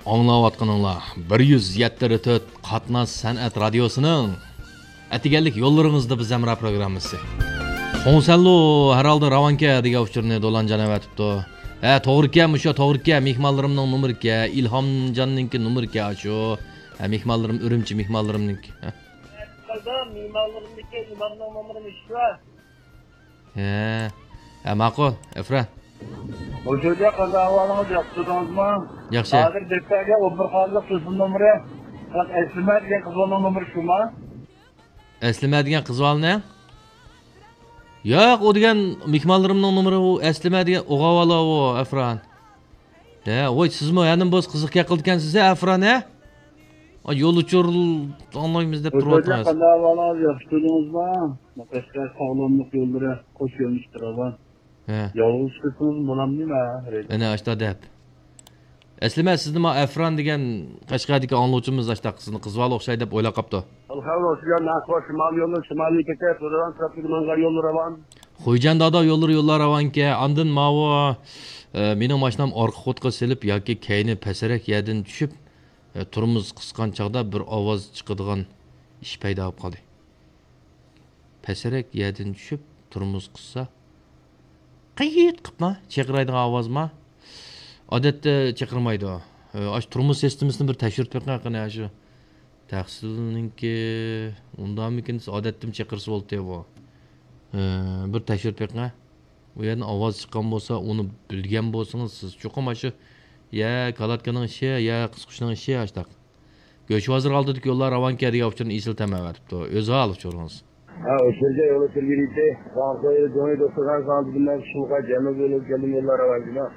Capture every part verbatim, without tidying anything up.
ئاڭلاۋاتقىنىڭلار بىر يۈز يەتتە تۆت قاتناش سەنئەت رادىيوسىنىڭ ئەتىگەنلىك يوللىرىڭىزدا بىز ھەمراھ پروگراممىسى. خوڭسەنلۇ ھەر ھالدا راۋانكەن دېگەن ئۇچۇرنى دولانجان ئەۋەتىپتۇ. ھە، توغرىكەن، مۇشۇ توغرىكەن، مېھمانلىرىمنىڭ نومۇرىكەن، ئىلھامجاننىڭكى نومۇرىكەن ئاشۇ. ھە، مېھمانلىرىم ئۈرۈمچى مېھمانلىرىمنىڭكى. ھە. مېھمانلىرىمنىڭكى ئىمامنىڭ نومۇرى مۇشۇ. ھە. ھە، ماقۇل، ئەفران. خوش ئۆيدە قانداق ئەھۋالىڭىز، ياخشى تۇردىڭىزمۇ؟ ياخشى. ھازىر دەپتەرگە ئون بىر قانۇنلۇق تېلېفون نومۇرى، ئەسلىمە دېگەن قىز بالىنىڭ نومۇرى شۇمۇ؟ ئەسلىمە دېگەن قىز بالىنىڭ؟ ياق، ئۇ دېگەن مېھمانلىرىمنىڭ نومۇرى، ئۇ ئەسلىمە دېگەن ئوغۇل بالا ئۇ، ئەفران. ھە، ۋاي، سىزمۇ ھەنىم بولسا قىزىق گەپ قىلىدىكەنسىز ھە، ئەفران ھە؟ ئا، يول ئۇچۇر ئاڭلايمىز دەپ تۇرۇۋاتىڭىز. قانداق ئەھۋالىڭىز، ياخشى تۇردىڭىزمۇ؟ قەشقەر ساغلاملىق يوللىرى، قوش يۆنىلىشتە راۋان. ھە. يالغۇز چىقىسىڭىز بولامدۇ نېمە؟ ئەنە ئاشتا دەپ. ئەسلىمە، سىزنىمۇ ئەفران دېگەن قەشقەردىكى ئاڭلىۋۇچىمىز ئاشتا سىزنى قىز بالا ئوخشاي دەپ ئويلاپ قاپتۇ. ئەلخەير ئوخشىغان نەقىش شىمال يولى، شىمالىي كېتىپ، تۇرغان تەرەپتىكى ماڭغان يوللىرى راۋان. خوجاندادا يوللىرى، يوللار راۋانكەن. ئاندىن ماۋۇ، ئە، مېنىڭ ماشىنام ئارقا قوتقا سېلىپ ياكى كەينى پەسرەك يەردىن چۈشۈپ، ئە، تورمۇز قىسقان چاغدا بىر ئاۋاز چىقىدىغان ئىش پەيدا بولۇپ قالدى. پەسرەك يەردىن چۈشۈپ، تورمۇز قىسسا، قىيىت قىپما، چىقىرايدىغان ئاۋازما؟ ئادەتتە چىقىرمايدۇ. ئە، ئاشۇ تورمۇز سىستېمىسىنى بىر تەكشۈرۈپ بېقىڭ، قېنى، ئاشۇ تەخسىلنىڭكى ئۇنداقمىكىن، ئادەتتىمۇ چىقىرسا بولاتتى بۇ. ئە، بىر تەكشۈرۈپ بېقىڭ. ئۇ يەردىن ئاۋاز چىققان بولسا، ئۇنى بىلگەن بولسىڭىز، سىز چوقۇم ئاشۇ، يا كالاتكىنىڭ ئىشى، يا قىسقۇچنىڭ ئىشى، ئاشتاق. گۆشۋازىر ئالدىدىكى يوللار راۋانكەن دېگەن ئۇچۇرنى ئېسىل تەمە ئەۋەتىپتۇ. ئۆزى ھال ئۇچۇرىڭىز. ھە، ئۇچۇرجا يولى تۈرگىلىدى. ساڭا قويۇلۇپ جۇڭيى دوستۇرخان ساڭا دېدىم، مەن شۇلغا جەنۇب يولى كەلدىم، يوللار راۋانكەن.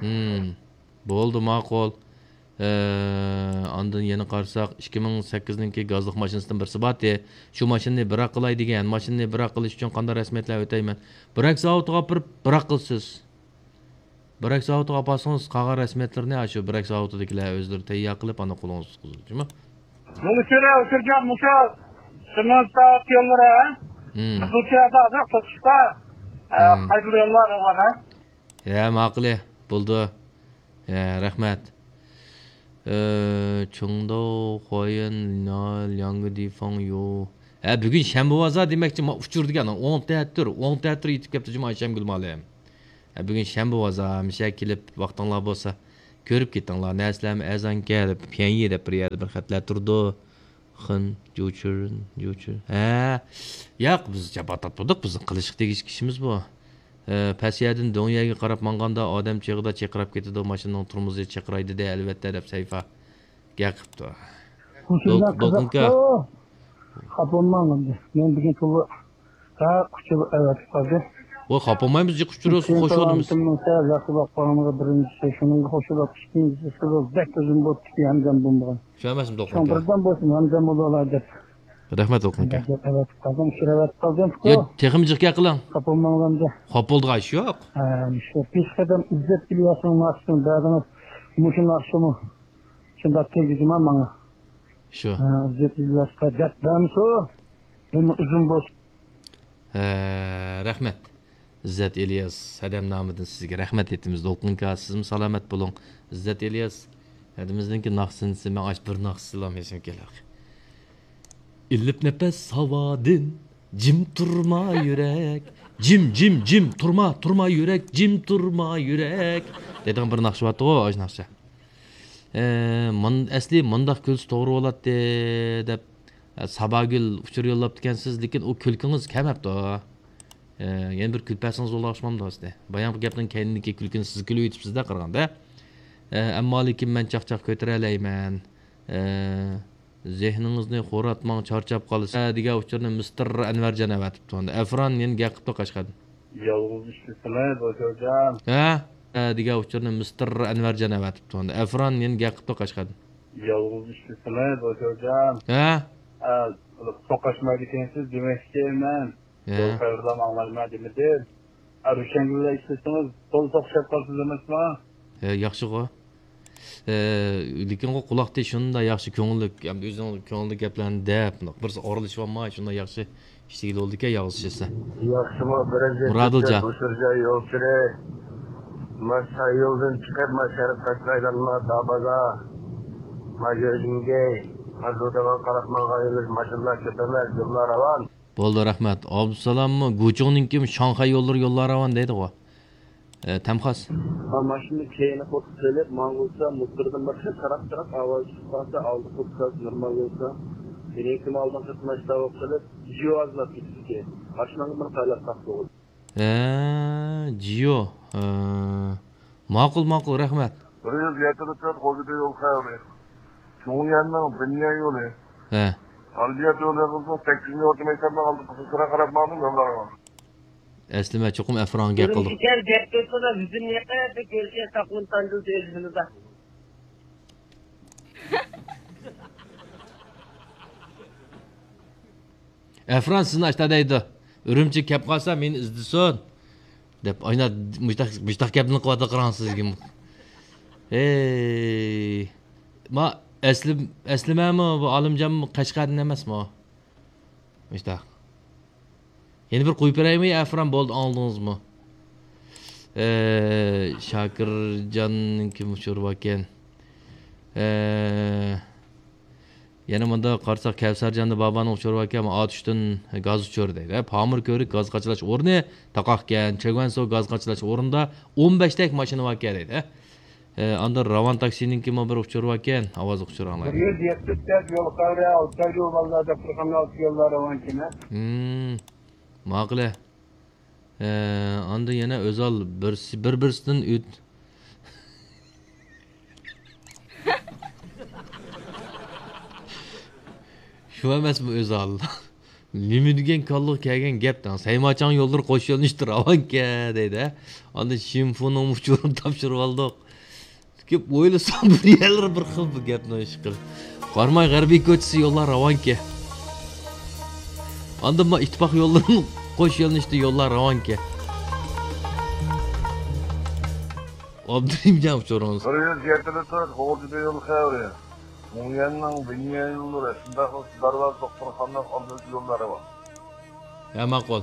ھىم، بولدى، ماقۇل. ئە، ئاندىن يەنە قارىساق، ئىككى مىڭ سەككىزنىڭكى گازلىق ماشىنىسىدىن بىرسى بارتى. شۇ ماشىنىنى بىراق قىلاي دېگەن. ماشىنىنى بىراق قىلىش ئۈچۈن قانداق رەسمىيەتلەر ئۆتەيمەن؟ بىراك زاۋۇتىغا ئاپىرىپ بىراق قىلىسىز. بىراك زاۋۇتىغا ئاپارسىڭىز، قالغان رەسمىيەتلىرىنى ئاشۇ بىراك زاۋۇتىدىكىلەر ئۆزلىرى تەييار قىلىپ، ئانا قولىڭىزغا تۇتقۇزىدۇ، جۇمۇ؟ يول ئۇچۇرى ئۇچۇرجان مۇشۇ سېمونت زاۋۇت يوللىرى، ھە؟ ھىم. قىزىلچىيادا ھازىر توقۇشتا، ھە، ھىم. قايسى يوللار بار، ھە؟ ھە، ماقۇلى، بولدى. ھە، رەھمەت. ئە، چېڭداۋ، خۇايۈەن، لياڭگې دىفاڭ يو. ھە، بۈگۈن شەنبە بازار دېمەكچى، ما ئۇچۇر دېگەن، ئوڭ تەتۈر، ئوڭ تەتۈر يېتىپ كەپتۇ جۇما ئايشەمگۈل مۇئەللىم. ھە، بۈگۈن شەنبە بازار، مىشە كېلىپ ۋاقتىڭلار بولسا، كۆرۈپ كېتىڭلار. نەرسىلەرمۇ ئەرزانكەن دەپ، پيەنيى دەپ بىر يەردە بىر خەتلەر تۇرىدۇ. خېن، جۇچۈن، جۇچۈن. ھە، ياق، بىز جاپا تارتمىدۇق، بىزنىڭ قىلىشقا تېگىشلىك ئىشىمىز بۇ. ئە، پەس يەردىن دۆڭ يەرگە قاراپ ماڭغاندا ئادەم چىغىدا چىرقىراپ كېتىدۇ، ماشىنىنىڭ تورمۇزى چىرقىراي دېدى، ئەلۋەتتە، دەپ سەيپا گەپ قىپتۇ. دولقۇنكا. خاپا بولماڭ ئەمدى. مەن بۈگۈن پۇلنى ھە، ئۇچۇر ئەۋەتىپ قالدى. ۋاي، خاپا بولمايمىز، جىق ئۇچۇر ئۆتسۇن، خوش بولدىمىز. سەل ياخشى باققانغا بىرىنچىسى، شۇنىڭغا خوش بولۇپ ئىككىنچىسى، بەك ئۇزۇن بولۇپتۇ، ھەمدەم بولمىغان. چۈشەنمەسمۇ، شۇڭا دولقۇنكا. بىردەم بولسۇن، ھەمدەم بولۇۋالار دەپ. رەھمەت، دولقۇنكا. ئەۋەتىپ قالدىم، ئۇچۇر ئەۋەتىپ قالدىم. يا، تېخىمۇ جىق گەپ قىلىڭ. خاپا بولماڭلار ئەمدى. خاپا بولىدىغان ئىش يوق. ھە، شۇ پېشقەدەم ئىززەت ئىلياسنىڭ ناخشىسىنى بەردىڭىز. مۇشۇ ناخشىمۇ شۇنداق تېگىدىما ماڭا؟ شۇ. ھە، ئىززەت ئىلياسقا دەپ بەرمىسۇ. يەنە ئۇزۇن بولسۇن. ھە، رەھمەت. ئىززەت ئىلياس، ھەدەم نامىدىن سىزگە رەھمەت ئېيتىمىز، دولقۇنكا، سىزمۇ سالامەت بولۇڭ. ئىززەت ئىلياس، ھەدىمىزنىڭكى ناخشىسىنى ماڭا ئاش بىر ناخشىسىلا ئېسىمگە كېلەر. ئىللىپ نەپەس ھاۋادىن، جىم تۇرما يۈرەك، جىم، جىم، جىم، تۇرما، تۇرما يۈرەك، جىم تۇرما يۈرەك دەيدىغان بىر ناخشا بارتىغۇ، ئاشۇ ناخشا. ئە، مۇن-، ئەسلى مۇنداق كۈلسە توغرا بولاتتى دەپ، ئە، ساباگۈل ئۇچۇر يوللاپتىكەنسىز، لېكىن ئۇ كۈلكىڭىز كەلمەپتۇ. ئە، يەنە بىر كۈلۈپ بەرسىڭىز بولىدىغان ئوخشىمامدۇ ئەسلى؟ بايامقى گەپنىڭ كەينىدىكى كۈلكىنى سىز كۈلۈۋېتىپسىز-دە قارىغاندا. ئە، ئەمما لېكىن مەن چاقچاق كۆتۈرەلەيمەن. ئە، زېھنىڭىزنى خوراتماڭ، چارچاپ قالىسىز. ئە، دېگەن ئۇچۇرنى مىستېر ئەنۋەرجان ئەۋەتىپتۇ. ئەفران يەنە گەپ قىپتۇ قەشقەردىن. يالغۇز ئىشلىسىڭىز، ئوشۇرجان. ھە؟ ئە، دېگەن ئۇچۇرنى مىستېر ئەنۋەرجان ئەۋەتىپتۇ. ئەفران يەنە گەپ قىپتۇ قەشقەردىن. يالغۇز ئىشلىسىڭىز، ئوشۇرجان. ھە؟ ئە، توقاشمايدىكەنسىز دېمەكچى مەن. ھە. يول خەۋەرلەرنى ئاڭلايمەن دېمىدىم. ئە، روشەنگۈللەر ئىشلىسىڭىز، تولا توقۇشۇپ قالىسىز ئەمەسمۇ؟ ھە، ياخشىغۇ. ئە، لېكىنغۇ قۇلاقتى شۇنداق ياخشى كۆڭۈللۈك، ھەمدە ئۆزىنىڭ كۆڭلىدىكى گەپلەرنى دەپ، بىرسى ئارىلىشىۋالماي، شۇنداق ياخشى ئىشلىگىلى بولىدىكەن، يالغۇز ئىشلىسە. ياخشىمۇ، بىرىنچى مۇرادىلجان. بۇ سۈرجە يول كىرى. ما شاي يولدىن چىقىپ، ما شەرققە چىقايدىغان ما دابازا. ماژىنىڭكى ماژۇدىغا قاراپ ماڭغان يوللار، ماشىنىلار كۆپ ئەمەس، يوللار راۋان. بولدى، رەھمەت. ئابدۇسالاممۇ گۇچۇڭنىڭكىمۇ شاڭخەي يوللىرى، يوللار راۋان دەيدىغۇ. ئە، تەمخاس. ھا، ماشىنىنى كەينى قوتۇپ سېلىپ ماڭغۇزسا، موتوردىن بىر خىل تاراق-تاراق ئاۋاز چىقىپ قالسا، ئالدى قوتۇپ نورمال بولسا، كېيىنكى مالدىن خىزمەت قىلىپ، جىۋازلاپ كېتىدىكەن. ماشىناڭغا بىر قايلاپ تاقتىغۇ. ھە، جىيو. ھە. ماقۇل، ماقۇل، رەھمەت. بىر يۈز يەتتە تۆت غوجىدا يول خەۋىرى. چۇڭيەننىڭ بىنيەن يولى. ھە. ئالبىيات يولى يېغىزىنىڭ سەككىزىنچى ئورتا مەكتەپنىڭ ئالدىدا قىزىلچىراغ قاراپ ماڭدىم، يوللارغا. ئەسلىمە، چوقۇم ئەفرانغا گەپ قىلدۇق. ئۈرۈمچىگە گەپ قىلسىلا، بىزنى يېقىندا كۆرسە، ساقلىنىپ تانجىل تېلېفونىدا. ئەفران سىزنى ئاشتا دەيدۇ. ئۈرۈمچىگە كەپ قالسا مېنى ئىزدىسۇن. دەپ، ئاينا مۇشتاق، مۇشتاق گەپنى قىلىۋاتىدۇ قاراڭ سىزگىمۇ. ھەي. ما ئەسلىم-، ئەسلىمەمۇ، بۇ ئالىمجانمۇ قەشقەردىن ئەمەسمۇ؟ مۇشتاق. يەنە بىر قويۇپ بېرەيمۇ يا ئەفران، بولدى، ئاڭلىدىڭىزمۇ؟ ئە، شاكىرجاننىڭكى ئۇچۇرى باركەن. ئە، يەنە مۇندا قارىساق، كەۋسەرجاندا بابانىڭ ئۇچۇرى باركەن، ئاتۇشتىن گاز ئۇچۇرى دەيدۇ. پامىر كۆۋرۈك گاز قاچىلاش ئورنى تاقاقكەن، چېگۋەنسو گاز قاچىلاش ئورنىدا ئون بەشتەك ماشىنا باركەن دەيدۇ. ئە، ئاندىن راۋان تاكسىنىڭكىمۇ بىر ئۇچۇرى باركەن، ئاۋازلىق ئۇچۇر ئاڭلايلى. بىر يۈز يەتمىش تۆت يول خەۋىرى، ئالتاي يول بالىلار دەپتەرخانا ئالدى يوللار راۋانكەن. ھىم، ماقۇل. ئە، ئاندىن يەنە ئۆزال بىرسى، بىر-بىرسىدىن ئۆت-، شۇ ئەمەسمۇ ئۆزال؟ نېمە دېگەن كاللىغا كەلگەن گەپ دەڭ. سەيماچاڭ يوللىرى قوش يۆنىلىشتە راۋانكەن دەيدۇ، ھە؟ ئاندىن شىنفۇنىڭ ئۇچۇرىنى تاپشۇرۇۋالدۇق. كېلىپ ئويلىسام، بىر يەرلىرى بىر خىل بۇ گەپنىڭ ئىشقىلىپ. قاراماي غەربىي كوچىسى يوللار راۋانكەن. ئاندىن ما ئىتتىپاق يوللىرىمۇ قوش يۆنىلىشتە يوللار راۋانكەن. ئابدۇرېھىمجان ئۇچۇرىڭىز. بىر يۈز يەتتە تۆت غوجىدا يول خەۋىرى. مۇڭيەننىڭ بىنيەن يوللىرى، شۇنداقلا دارۋازا دوختۇرخانىنىڭ ئالدىدىكى يوللار راۋان. ھە، ماقۇل.